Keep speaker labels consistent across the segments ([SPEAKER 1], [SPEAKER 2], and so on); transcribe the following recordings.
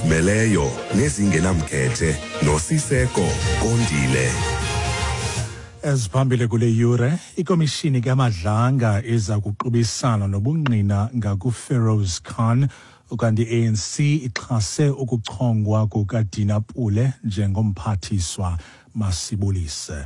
[SPEAKER 1] Ezizimeleyo nezingenamkhethe noSiseko Kondile.
[SPEAKER 2] Eziphambili kule yure, ikomishini kaMadlanga iza kuqubisana nobungqina ngakuFeroz Khan, ukanti i-ANC ixhase ukuchongwa kukaDina Pule njengomphathiswa. Masibulise.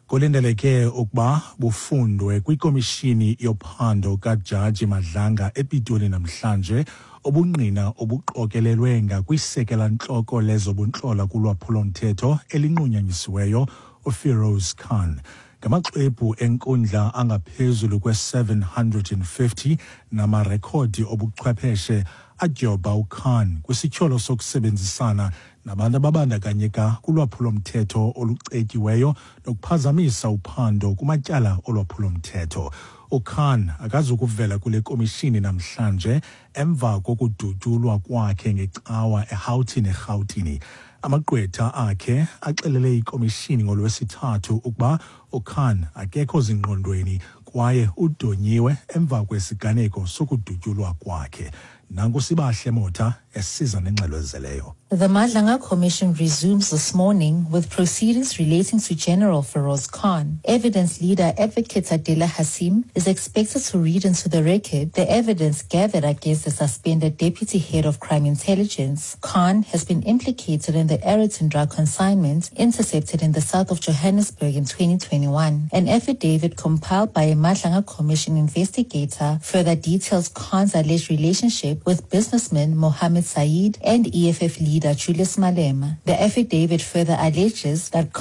[SPEAKER 2] Kulindeleke ukuba bufundwe kwikomishini yophando kaJaji Madlanga ePitoli namhlanje ubungqina obuqokelelwe ngakwisekela-ntloko lezobuntlola kulwaphulo-mthetho elinqunyanyisiweyo uFeroz Khan. Ngamaxwebhu enkundla angaphezulu kwe-750 namarekhodi obuchwepheshe adyobha uKhan kwisityholo sokusebenzisana nabantu ababandakanyeka kulwaphulo-mthetho olucetyiweyo nokuphazamisa uphando kumatyala olwaphulo-mthetho. UKhan akazukuvela kule komishini namhlanje emva kokudutyulwa kwakhe ngecawa eHoughton eRhawutini. Amagqwetha akhe axelele ikomishini ngoLwesithathu ukuba uKhan akekho zingqondweni kwaye udonyiwe emva kwesiganeko sokudutyulwa kwakhe. Nanku Sibahle Motha esiza nengxelo ezeleyo.
[SPEAKER 3] The Madlanga Commission resumes this morning with proceedings relating to General Feroz Khan. Evidence leader Advocate Adela Hassim is expected to read into the record the evidence gathered against the suspended deputy head of crime intelligence. Khan has been implicated in the Aeroton drug consignment intercepted in the south of Johannesburg in 2021. An affidavit compiled by a Madlanga Commission investigator further details Khan's alleged relationship with businessman Mohammed Saeed and EFF leader Julius Malema. The affidavit further alleges that